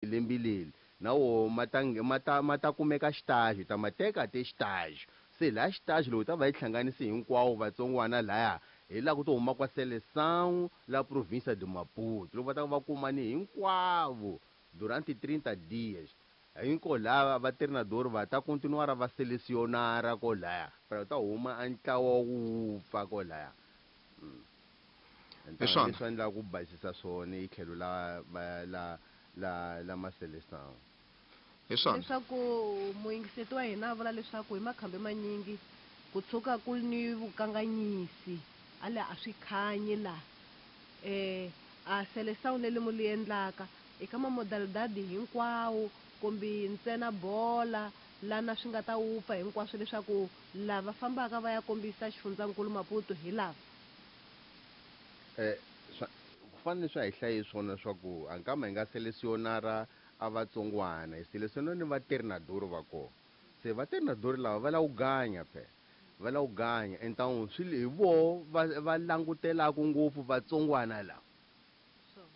Lembe leri na woho ma ta ma ta ma ta kumeka xitaji, hi ta ma teka te xitaji. Se laha xitaji loko hi ta va hi hlanganise hinkwawo vatsongwana laya, hi laha ku to huma kwa Seleção la província de Maputo. Loko va ta va kumane hinkwavo durante 30 dias. Hinko lava va treinador va ta continuar va selecionar kolaya. Para ta huma a ntlawa wa ku wupfa kolaya. Hi swona. Leswi endlaka ku basisa swona hi tlhelo la la la la la ma-seleção. Hi swona. Leswaku muyingiseti wa hina a vula leswaku hi makhambi manyingi ku tshuka ku ni vukanganyisi a le a swi khanyi laha a seleção leli mu li endlaka eka mamodalidadi hinkwawo kumbe ntsena bola lana swi nga ta wupfa hinkwaswo leswaku lava fambaka va ya kombisa xifundzankulu Maputo hi lava. Ku fanele swa hi hlaye swona swa ku a nkama hi nga selecionara a vatsongwana hi selecionara ni va treinador va kona. Se va treinador lava va lava ku ganya phela, va lava ku ganya então swi hi voho va va langutelaka ngopfu vatsongwana lava.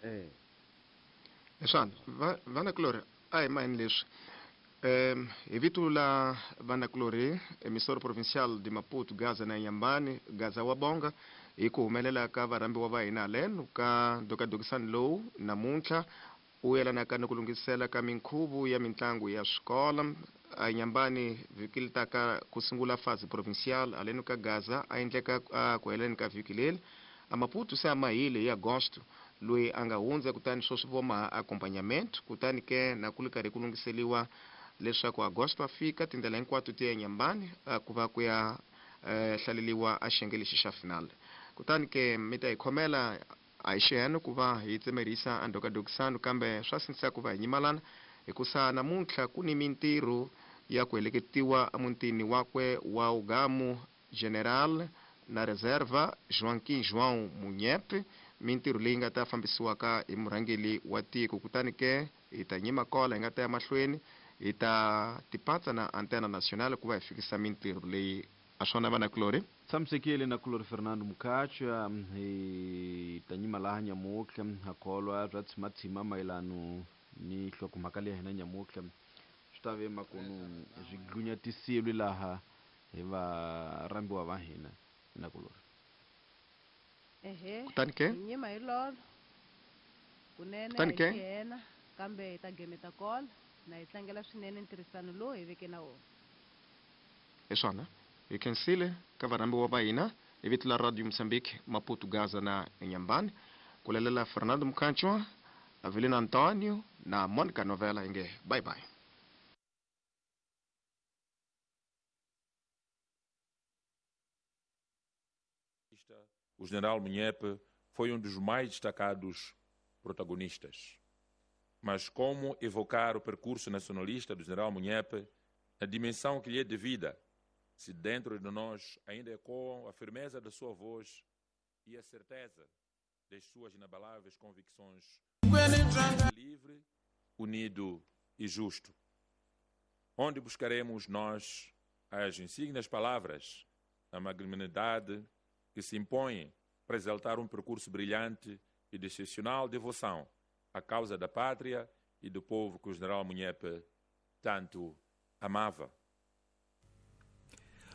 Hi swona vanakulorhi a hi maheni leswi hi vito la vanakulorhi emissora provincial de Maputo Gaza na Inhambane Gaza wa Bonga hi ku humelela ka varhambiwa va hina haleno ka ndhokadhokisani lowu namuntlha u yelanaka ni ku lunghisela ka minkhuvo ya mitlangu ya swikolo a Inhambane vhiki li taka ku sungula fase provincial haleno ka Gaza a endleka a ku heleni ka vhiki leri a Maputo se a mahile hi Agosto loyi a nga hundza kutani sweswi vo maha accompagnement kutani ke na ku li karhi ku lunghiseliwa leswaku Agosto a fika tindlela hinkwato ti ya Inhambane ku va ku ya hlaleliwa a xiyenge lexi xa final. Kutani ke mi ta hi khomela a hi xiheno ku va hi tsemerisa a ndhokadhokisano kambe swa sindzisa ku va hi nyimalana hikusa namuntlha ku ni mintirho ya ku heleketiwa emutini wakwe wa Ugamu General na Reserva Joaquim João Munyepe, mintirho leyi nga ta fambisiwaka hi murhangeri wa tiko. Kutani ke hi ta nyima kola hi nga ta ya mahlweni hi ta tipatsa na Antena Nacional ku va hi fikisa mintirho leyi. A swona vanakulorhi. Tshamisekile na kulorhi Fernando Mukhacha hi ta nyima laha nyamutlha ha kholwa bya tshimatsima mayelano ni nhlokomhaka leyi hina nyamutlha swi ta ve makunu swi dlunyatisiwe laha hi varhambiwa va hina na kulorhi. Ehe. Kutani ke? Hi nyima hi lolo. Kunene Kutani hi ke? xihena kambe hi ta gemeta kola na hi tlangela swinene ntirhisano lowu hi veke na wona. Hi swona. Hi khensile ka varhambiwa va hina hi vito la Radio Mozambique Maputo Gaza na Inhambane ku lalela Fernando Mukhanchwa, Avelino Antonio na Monica Novela hi nge bye bye. O general Munhepe foi um dos mais destacados protagonistas. Mas como evocar o percurso nacionalista do general Munhepe na dimensão que lhe é devida, se dentro de nós ainda ecoam a firmeza da sua voz e a certeza das suas inabaláveis convicções, livre, unido e justo? Onde buscaremos nós as insignes palavras, a magnanimidade que se impõe para exaltar um percurso brilhante e de excepcional devoção à causa da pátria e do povo que o general Munhepe tanto amava?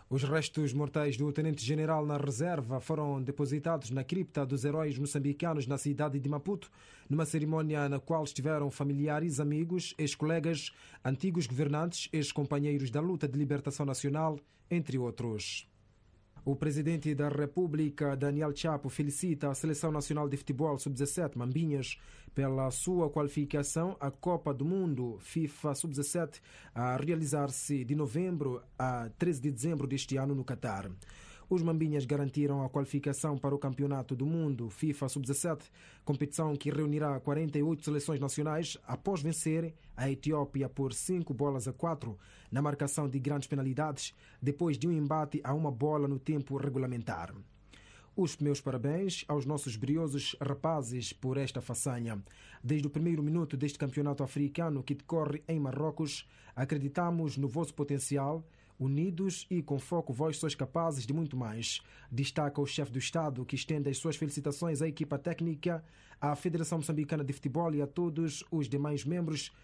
Os restos mortais do tenente-general na reserva foram depositados na cripta dos heróis moçambicanos na cidade de Maputo, numa cerimônia na qual estiveram familiares, amigos, ex-colegas, antigos governantes, ex-companheiros da luta de libertação nacional, entre outros. O presidente da República, Daniel Chapo, felicita a Seleção Nacional de Futebol Sub-17, Mambinhas, pela sua qualificação à Copa do Mundo FIFA Sub-17, a realizar-se de novembro a 13 de dezembro deste ano no Catar. Os Mambinhas garantiram a qualificação para o Campeonato do Mundo FIFA Sub-17, competição que reunirá 48 seleções nacionais após vencer a Etiópia por 5-4 na marcação de grandes penalidades, depois de um embate a uma bola no tempo regulamentar. Os meus parabéns aos nossos briosos rapazes por esta façanha. Desde o primeiro minuto deste campeonato africano que decorre em Marrocos, acreditamos no vosso potencial. Unidos e com foco, vós sois capazes de muito mais. Destaca o chefe do Estado, que estende as suas felicitações à equipa técnica, à Federação Moçambicana de Futebol e a todos os demais membros